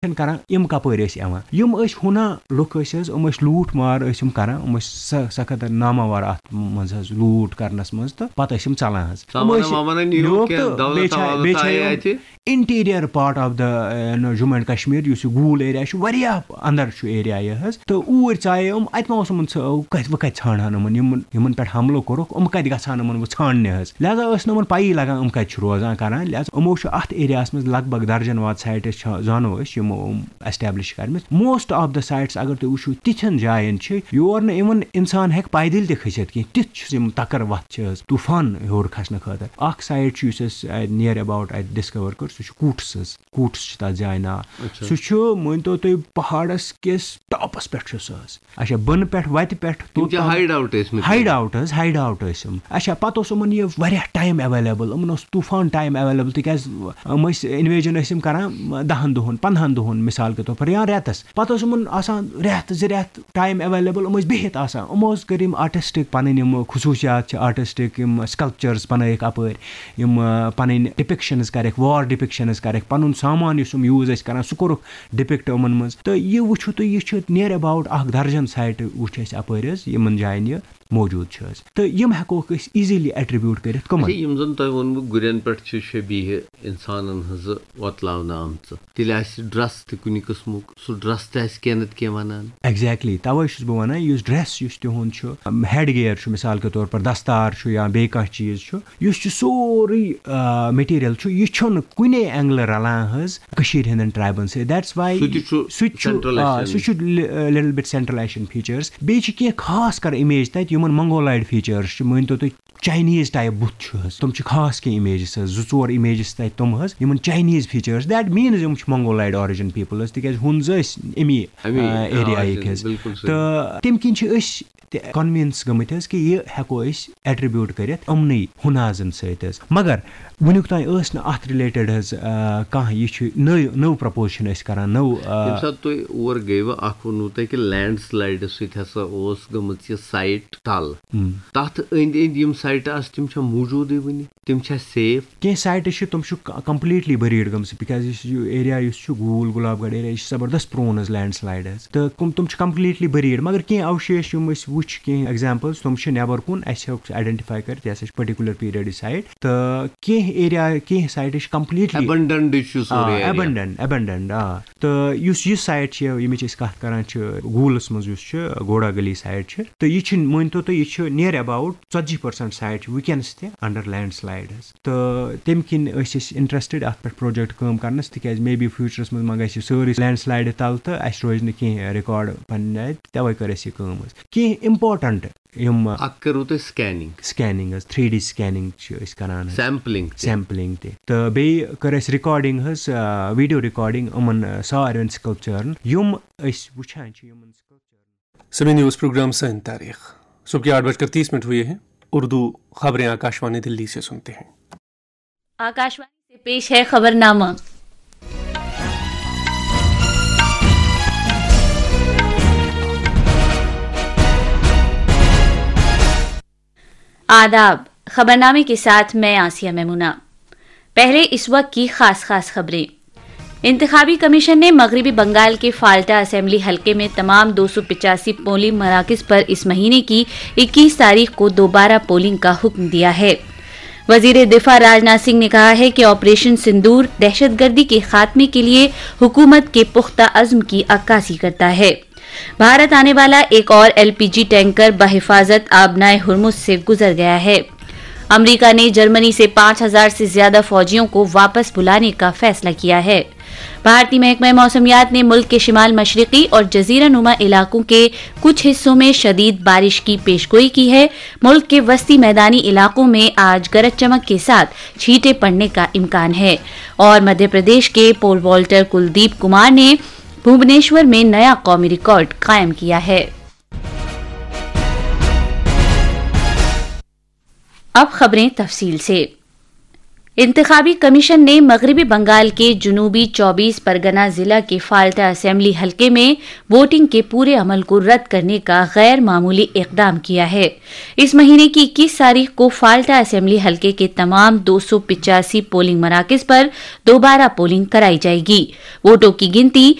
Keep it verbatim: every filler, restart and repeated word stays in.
چھِنہٕ کران، یِم کپٲرۍ ٲسۍ یِوان؟ یِم ٲسۍ ہُنا لُکھ ٲسۍ حظ، یِم ٲسۍ لوٗٹھ مار ٲسۍ یِم کران، یِم ٲسۍ س-، سخت ناماوار اَتھ منٛز حظ لوٗٹھ کرنَس منٛز، تہٕ پتہٕ ٲسۍ یِم ژلان حظ۔ یِم سامان ٲسۍ وامان نِیوکھ نیوکھ کینٛہہ، تہٕ دولت بیٚیہِ چھا-، وولت بیٚیہِ چھا آیہِ یِم اَتہِ؟ Interior part of the، uh, you know, Jammu and Kashmir، یُس یہِ گوٗل ایریا چھُ، واریاہ اندر چھُ ایریا یہِ حظ، تہٕ اوٗرۍ ژایے یِم، اَتہِ ما اوس یِمن ژھ-، کتہِ، وۄنۍ کتہِ ژھانڈہن یِمن، یِمن، یِمن پٮ۪ٹھ حملہٕ کوٚرُکھ، یِم کتہِ گژھن یِمن وۄنۍ ژھانڈنہِ حظ؟ لہذا ٲس نہٕ یِمن پَیی لگان یِم کَتہِ چھِ روزان کران۔ لہذا یِمو چھُ اَتھ ایریاہَس منٛز لگ بگ درجن واد سایٹس چھِ، زانو أسۍ، یِمو یِم establish کَرِمٕژ۔ Most of the sites، اگر تُہۍ وٕچھِو، تِژھن جاین چھِ یور نہٕ even اِنسان ہیٚکہِ پیدٔلۍ تہِ کھٔسِتھ کینٛہہ۔ تِژھ چھِ یِم تَکر وَتھ چھِ حظ طوٗفان ہیوٚر کھسنہٕ خٲطرٕ۔ اکھ سایٹ چھُ، یُس اَسہِ، uh, near about اَتہِ ڈسکور کٔر، سُہ چھُ کوٗٹس حظ۔ کوٗٹس چھُ تَتھ جایہِ ناو۔ اچھا۔ سُہ چھُ، مٲنۍ تو تُہۍ، پہاڑس کِس ٹاپس پٮ۪ٹھ چھُ سُہ حظ۔ اچھا، بۄنہٕ پٮ۪ٹھ وتہِ پٮ۪ٹھ یِم توٚت چھِ تام۔ ہایڈ آوُٹ ٲسۍ مٕتۍ۔ ہایڈ آوُٹ حظ، ہایڈ آوُٹ ٲسۍ یِم۔ اچھا، پتہٕ اوس یِمن یہِ واریاہ ٹایم اویلیبل، یِمن اوس طوٗفان ٹایم اویلیبل، تِکیازِ یِم ٲسۍ انویجن ٲسۍ یِم کران دہن دۄہن، پندہن دۄہن، مثال کے طور پر، یا رٮ۪تس۔ پتہٕ اوس یِمن آسان رٮ۪تھ زٕ رٮ۪تھ ٹایم اویلیبل، یِم ٲسۍ بِہِتھ آسان۔ یِمو ٲس کٔر یِم آرٹسٹک پنٕنۍ یِم خصوٗصیات چھِ، آرٹسٹک یِم سکلپچرز بنٲیِکھ اپٲرۍ، یِم، آ، پنٕنۍ ڈپکشنز کرٮ۪کھ، وار ڈپکشنز کرٮ۪کھ، پنُن سامان یُس یِم یوٗز ٲسۍ کران، سُہ کوٚرُکھ ڈپکٹ یِمن منٛز۔ تہٕ یہِ وٕچھِو تُہۍ، یہِ چھُ near about اکھ درجن سایٹہٕ وٕچھ اَسہِ اپٲرۍ حظ، یِمن جاین یہِ موجود چھُ حظ۔ تہٕ یِم ہٮ۪کوکھ أسۍ ایٖزیلی ایٹریبیوٹ کٔرِتھ کٕمن۔ اچھا، یِم زن تۄہہِ ووٚنوٕ گُرٮ۪ن پٮ۪ٹھ چھِ شبیہہ انسانن ہٕنٛزٕ وۄتلاونہٕ آمژٕ، تیٚلہِ آسہِ ڈرس تہِ کُنہِ قٕسمُک، سُہ ڈرس تہِ آسہِ کینٛہہ نتہٕ کینٛہہ ونان۔ ایگزیکٹلی، توے چھُس بہٕ ونان، یُس ڈرس یُس تِہُنٛد چھُ، ہیڈ گیئر چھُ، مثال کے طور پر دستار چھُ یا بیٚیہِ کانٛہہ چیٖز چھُ، یُس چھُ سورُے، آ، مٹیٖریل چھُ، یہِ چھُنہٕ کُنے اینگلہٕ رلان حظ کٔشیٖرِ ہٕنٛدٮ۪ن ٹرایبن سۭتۍ۔ That's why سُہ تہِ چھُ سُہ تہِ چھُ، Central آ، Asian۔ سُہ چھُ لی-، آ، little bit Central Asian features۔ بیٚیہِ چھِ کینٛہہ خاص کر امیج تتہِ، یِمن منگولایڈ فیچٲرٕس چھِ، مٲنۍ تو تُہۍ، چاینیز ٹایپ بُتھ چھُ حظ۔ تِم چھِ خاص کینٛہہ امیجز حظ، زٕ ژور امیجز تتہِ تِم حظ، یِمن چاینیز فیچٲرٕس۔ That means یِم چھِ منگولایڈ آرجن پیپل حظ، تِکیازِ ہُنز ٲسۍ امی، امی، آ، آ، ایریاہٕکۍ origin، حظ۔ بِلکُل صحیح۔ تہٕ تِم کِنۍ چھِ أسۍ تہِ کنوِنس گٔمٕتۍ حظ کہِ یہِ ہٮ۪کو أسۍ ایٹریبیوٹ کٔرِتھ یِمنٕے ہُنازن سۭتۍ حظ۔ مگر وٕنیُک تام ٲس نہٕ اتھ رِلیٹڈ حظ، آ، کانٛہہ، یہِ چھُ نٔو، نٔو پرپوز چھِنہٕ أسۍ کران، نٔو، آ، ییٚمہِ ساتہٕ تُہۍ اور گٔیوٕ، اکھ ووٚنوٕ تۄہہِ کہِ لینڈ سلایڈٕ سۭتۍ ہسا اوس گٔمٕژ یہِ سایٹ تل۔ ہم۔ تتھ أنٛدۍ أنٛدۍ یِم سایٹہٕ آسہٕ، تِم چھا موٗجوٗدٕے وُنہِ؟ تِم چھا سیف؟ کینٛہہ سایٹہٕ چھِ، تِم چھِ ک-، کمپلیٖٹلی بٔریٖڈ گٔمژٕ، بِکاز یُس یہِ ایریا یُس چھُ گوٗل گۄلاب گڑھ ایریا، یہِ چھِ زبردست پرٛون حظ لینڈ سلایڈ حظ، تہٕ کم-، تِم چھِ کمپلیٖٹلی بٔریٖڈ۔ مگر کینٛہہ اوشیش یِم أسۍ وٕچھ، کینٛہہ ایگزامپلز، تِم چھِ نٮ۪بر کُن، اَسہِ ہیوٚک سُہ آیڈینٹِفاے کٔرِتھ، یہِ ہسا چھِ پٔٹِکیوٗلر پیٖریڈٕچ سایٹ۔ تہٕ کینٛہہ ایریا، کینٛہہ سایٹہٕ چھِ کمپلیٖٹلی ایبنڈنڈ چھُ سورُے ایریا۔ ایبنڈنڈ، ایبنڈنڈ، آ۔ تہٕ یُس یہِ سایٹ چھِ، ییٚمِچ أسۍ کَتھ کَران چھِ، گوٗلَس منٛز یُس چھُ، گوڑا گلی سایڈ چھِ، تہٕ یہِ چھِ، مٲنۍ تو تُہۍ، یہِ چھُ near about ژتجی percent سایڈ چھِ وٕنکیٚنَس تہِ under landslide حظ۔ تہٕ تَمہِ کِنۍ ٲسۍ أسۍ interested اَتھ پٮ۪ٹھ project کٲم کَرنَس، تِکیٛازِ maybe future منٛز ما گژھِ یہِ سٲرٕے لینڈ سلایڈ تَل تہٕ اَسہِ روزِ نہٕ کینٛہہ ریکارڈ پنٛنہِ آیہِ، تَوَے کٔر اَسہِ یہِ کٲم حظ۔ کینٛہہ important یِم اَکھ کٔروٕ تۄہہِ سکیننگ؟ سکیننگ حظ، تھری ڈی سکیننگ چھِ أسۍ کَران حظ۔ سیمپلنگ تہِ؟ سیمپلنگ تہِ۔ تہٕ بیٚیہِ کٔر اَسہِ ریکارڈنگ حظ، آ، ویڈیو ریکارڈنگ یِمَن، آ، ساروٮ۪ن سکلپچرن، یِم أسۍ وٕچھان چھِ یِمَن سکلپچرن۔ سمے نیوز پروگرام سن تاریخ۔ صبح کے آٹھ بج کر تیس منٹ ہوئے ہیں۔ اردو خبریں آکاشوانی دلی سے سنتے ہیں۔ آکاشوانی سے پیش ہے خبر نامہ۔ آداب، خبرنامے کے ساتھ میں آسیہ میمونہ۔ پہلے اس وقت کی خاص خاص خبریں۔ انتخابی کمیشن نے مغربی بنگال کے فالٹا اسمبلی حلقے میں تمام دو سو پچاسی پولنگ مراکز پر اس مہینے کی اکیس تاریخ کو دوبارہ پولنگ کا حکم دیا ہے۔ وزیر دفاع راجناتھ سنگھ نے کہا ہے کہ آپریشن سندور دہشت گردی کے خاتمے کے لیے حکومت کے پختہ عزم کی عکاسی کرتا ہے۔ بھارت آنے والا ایک اور ایل پی جی ٹینکر بحفاظت آبنائے ہرمز سے گزر گیا ہے۔ امریکہ نے جرمنی سے پانچ ہزار سے زیادہ فوجیوں کو واپس بلانے کا فیصلہ کیا ہے۔ بھارتی محکمہ موسمیات نے ملک کے شمال مشرقی اور جزیرہ نما علاقوں کے کچھ حصوں میں شدید بارش کی پیش گوئی کی ہے۔ ملک کے وسطی میدانی علاقوں میں آج گرج چمک کے ساتھ چھینٹے پڑنے کا امکان ہے۔ اور مدھیہ پردیش کے پول والٹر کلدیپ کمار نے بھوبنیشور میں نیا قومی ریکارڈ قائم کیا ہے۔ اب خبریں تفصیل سے۔ انتخابی کمیشن نے مغربی بنگال کے جنوبی چوبیس پرگنا ضلع کے فالٹا اسمبلی حلقے میں ووٹنگ کے پورے عمل کو رد کرنے کا غیر معمولی اقدام کیا ہے۔ اس مہینے کی اکیس تاریخ کو فالٹا اسمبلی حلقے کے تمام دو سو پچاسی پولنگ مراکز پر دوبارہ پولنگ کرائی جائے گی۔ ووٹوں کی گنتی